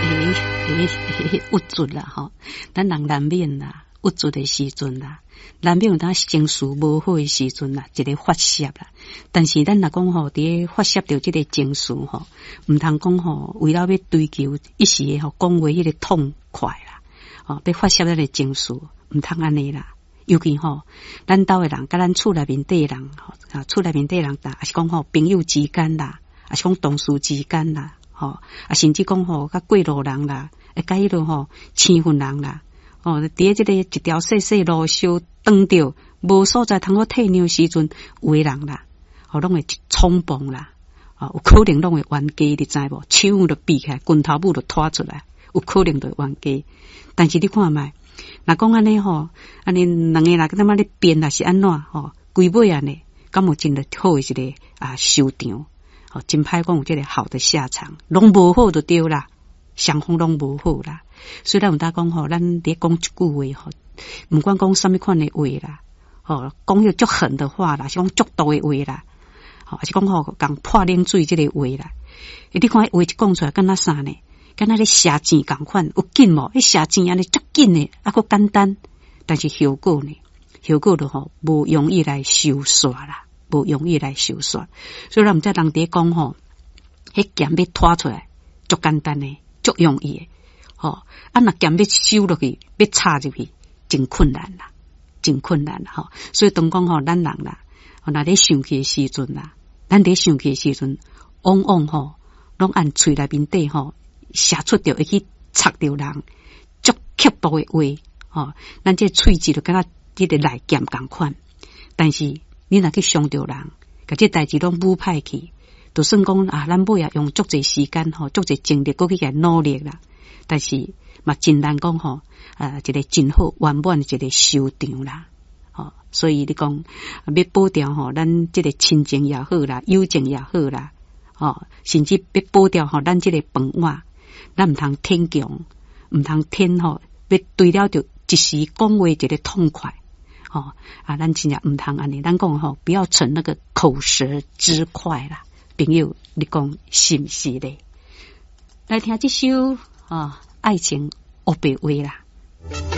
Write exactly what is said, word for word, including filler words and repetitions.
會會鬱卒啦吼，咱人難免啦，鬱卒的時陣啦，難免有當情緒無好的時陣啦，一個發洩啦。但是咱若講吼，佇咧發洩著這個情緒吼，毋通講吼，為了欲追求一時的吼講話彼個痛快啦，吼，欲發洩咱的情緒，毋通按呢啦。尤其吼，咱兜的人，佮咱厝內面底的人，吼，啊，厝內面底的人，抑是講吼朋友之間啦，抑是講同事之間啦，吼，啊，甚至講吼，佮過路人啦，會佮彼落吼生份人啦，哦，佇咧這個一條細細路相撞著，無所在通好退讓時陣，有的人啦，吼，攏會衝動啦，哦，有可能攏會冤家，你知無？手就比起來，拳頭母就拖出來，有可能就會冤家。但是你看覓？若講按呢吼，按呢兩个人感覺咧辯抑是按怎吼，規尾按呢，敢有真好的一個啊收場？吼，真歹講有這個好的下場，攏無好就對啦，雙方攏無好啦。所以咱有當講吼，咱佇講一句話吼，毋管講啥物款的話啦，吼，講彼個足狠的話啦，是講足毒的話啦，吼，抑是講吼共潑冷水這个話啦。你看彼話一講出來，敢若啥呢？敢若咧射箭仝款，有緊無？彼射箭按呢足緊的，啊，閣簡單，但是效果呢？效果就吼無容易來收煞啦，無容易來收煞。所以咱毋知人佇咧講吼，彼劍欲拖出來，足簡單的，足容易的，吼。啊，若劍欲收落去，欲插入去，真困難啦，真困難啦，吼。所以當講吼，咱人啦，若咧生氣的時陣啦，咱佇生氣的時陣，往往吼，攏按喙內面底吼，射出著會去插著人，足刻薄的話，吼，咱這喙舌就敢若這个利劍仝款。但是你若去傷著人，共這代誌攏舞歹去，就算講啊，咱尾仔用足濟時間吼，足濟精力，閣去共努力啦。但是嘛，真難講吼，啊，一個真好圓滿的一個收場啦。吼，所以你講欲保掉吼，咱這個親情也好啦，友情也好啦，吼，甚至欲保掉吼，咱這个飯碗，咱毋通逞強，毋通逞吼，欲追了著一時講話一個痛快，吼啊，咱真正毋通按呢，咱講吼，不要逞那個口舌之快啦，朋友，你講是毋是咧？來聽這首啊，愛情烏白話啦。